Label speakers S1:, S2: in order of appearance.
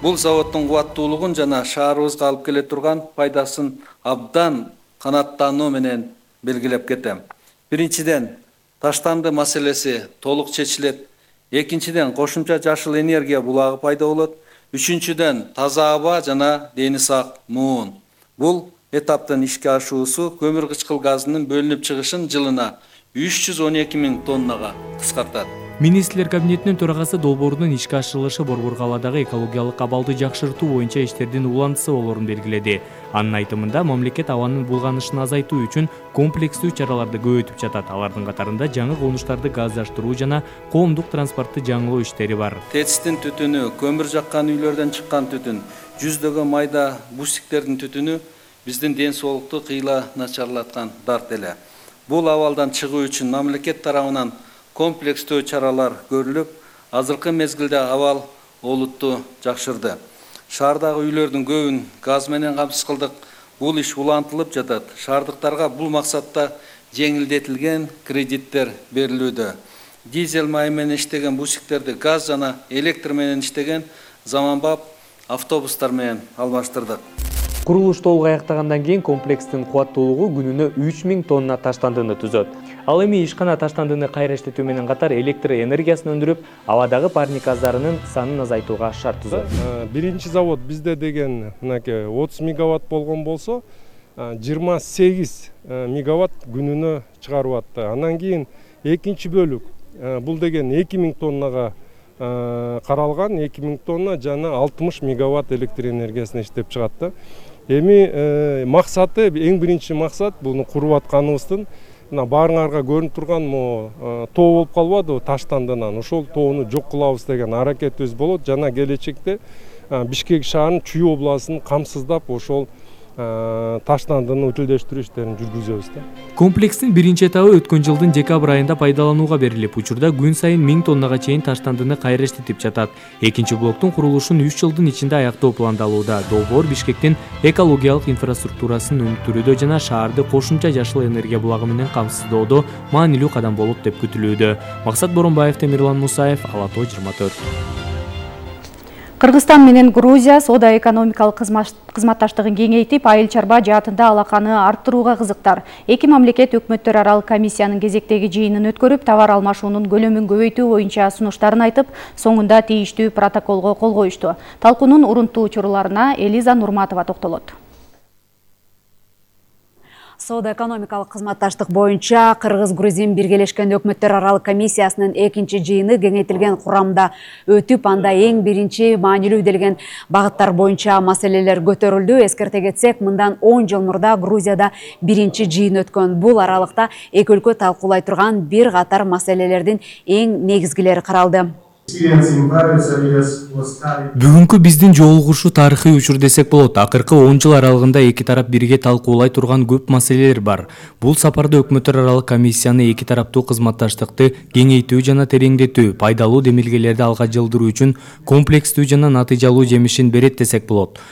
S1: Бул заводдун кубаттуулугун жана шаарыбызга алып келе турган пайдасын абдан канааттануу менен белгилеп кетем. Биринчиден, таштанды маселеси толук чечилет. Экинчиден, кошумча жашыл энергия булагы пайда болот. Үчүнчүдөн, таза аба жана дени сак муун. Бул этаптын ишке ашуусу көмүр кычкыл газынын бөлүнүп чыгышын жылына 312 000 тоннага кыскартат.
S2: Министрлер кабинетинин төрагасы долбоордун ишке ашырылышы Борбор калаадагы экологиялык абалды жакшыртуу боюнча иштердин улантысы болоорун белгиледи. Анын айтымында мамлекет абанын булганышын азайтуу үчүн комплекстүү чараларды көбөйтүп жатат. Алардын катарында жаңы конуштарды газдаштыруу жана коомдук транспортты жаңылоо иштери бар.
S1: ТЭЦтин түтүнү, көмүр жаккан үйлөрдөн чыккан түтүн, жүздөгөн майда бусиктердин түтүнү биздин ден соолукту кыйла начарлаткан дарт эле. Бул абалдан чыгуу үчүн мамлекет тарабынан комплекстүү чаралар көрүлүп, азыркы мезгилде абал олутту жакшырды. Шаардагы үйлөрдүн көбүн газ менен камсыз кылдык. Бул иш улантылып жатат. Шаардыктарга бул максатта жеңилдетилген кредиттер берилүүдө. Дизель май менен иштеген бусиктерди газ жана электр менен иштеген заманбап автобустар менен алмаштырдык.
S2: Курулуш толук аяктагандан кийин комплекстин кубаттуулугу күнүнө 3000 тонна таштандыны түзөт. Ал эми ишкана таштандыны кайра иштетүү менен катар электр энергиясын өндүрүп, абадагы парник газдарынын санын азайтууга шарт түзөт.
S3: Биринчи завод бизде деген мынакей 30 мегаватт болгон болсо, 28 мегаватт күнүнө чыгарып атты. Андан кийин экинчи бөлүк бул деген 2000 тоннага каралган, 2000 тонна жана 60 мегаватт электр энергиясын иштеп чыгат да. Эми максаты, эң биринчи максат буну куруп атканыбыздын баарыңарга көрүнүп турган тоо болуп калбадыбы таштандынан, ошол тоону жок кылабыз деген аракетибиз болот. Жана келечекте Бишкек шаарынын Чүй областын камсыздап ошол таштандыны утилдештирүү иштерин жүргүзөбүз да.
S2: Комплекстин биринчи этабы өткөн жылдын декабрь айында пайдаланууга берилип, учурда күн сайын 1000 тоннага чейин таштандыны кайра иштетип жатат. Экинчи блоктун курулушун 3 жылдын ичинде аяктоо пландалууда. Долбоор Бишкектин экологиялык инфраструктурасын өнүктүрүүдө жана шаарды кошумча жашыл энергия булагы менен камсыздоодо маанилүү кадам болот деп күтүлүүдө. Максат Боронбаев, Темирлан Мусаев, Ала Тоо 24.
S4: Кыргызстан менен Грузия соода-экономикалык кызматташтыгын кеңейтип, айыл чарба жаатында алаканы арттырууга кызыктар. Эки мамлекет өкмөттөр аралык комиссиянын кезектеги жыйынын өткөрүп, товар алмашуунун көлөмүн көбөйтүү боюнча сунуштарын айтып, соңунда тийиштүү протоколго кол коюшту. Талкуунун урунттуу учурларына Элиза Нурматова токтолот.
S5: Соода-экономикалык кызматташтык боюнча Кыргыз-Грузин биргелешкен өкмөттөр аралык комиссиясынын экинчи жыйыны кеңейтилген курамда өтүп, анда эң биринчи маанилүү делген багыттар боюнча маселелер көтөрүлдү. Эскерте кетсек, мындан 10 жыл мурда Грузияда биринчи жыйын өткөн. Бул аралыкта эки өлкө талкуулай турган бир катар маселелердин эң негизгилери каралды.
S2: Бүгүнкү биздин жолугушуу тарыхый учур десек болот. Акыркы 10 жыл аралыгында эки тарап бирге талкуулай турган көп маселелер бар. Бул сапарда өкмөттөр аралык комиссияны эки тараптуу кызматташтыкты кеңейтүү жана тереңдетүү, пайдалуу демилгелерди алга жылдыруу үчүн комплекстүү жана натыйжалуу жемишин берет десек болот.